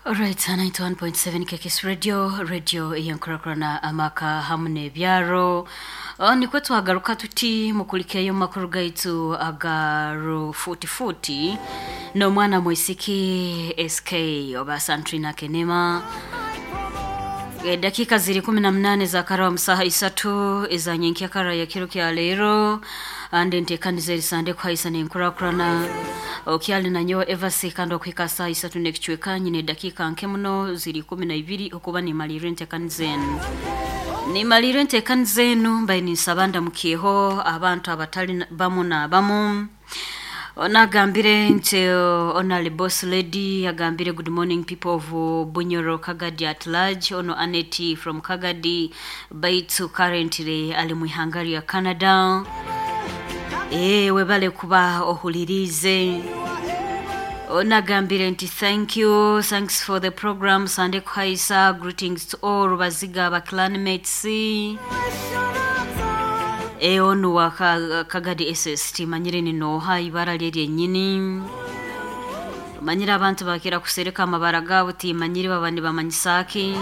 Alright, 91.7 KKS Radio, radio eyenkurakurana amaka hamu n'ebyaro. Nikwo twagaruka tuti mukulikeyo makuru gaitu aga rufutifuti n'omwana mwisiki SK oba Santrina Kenema. Dakika ziri 18 za kara wa msaha isatu ezanyenkia kara ya kiro kya leero ande ntekaniza erisande kuhaisa nenkurakurana okyali nanyo evasi kandi okuhika saa isatu n'ekicweka nyine dakika nke muno ziri 12 okuba nimalirira entekaniza enu, nimalirira entekaniza enu mbaye ninsaba ndamukiyeho abantu abatali bamu n'abamu. Onagambire nti onali boss lady agambire, "Good morning, people of Bunyoro Kagadi at large." Ono Aneti from Kagadi, baitu currently ali mu ihanga lya Canada. Webale kuba ohulirize. Onagambire nti, "Thank you, thanks for the program Sande Kuhaisa. Greetings to all Rubaziga ba clanmates." Onu wa Kagadi SST, manyire ninoha ibara lye lyennyini. Manyire abantu bakira kusereka amabara gaabo, timanyire baba nibamanyisaki.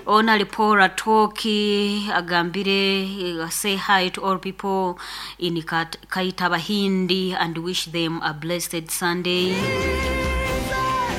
Ono ali Paul Atoki agambire, "Say hi to all people in Kaitabahindi and wish them a blessed Sunday."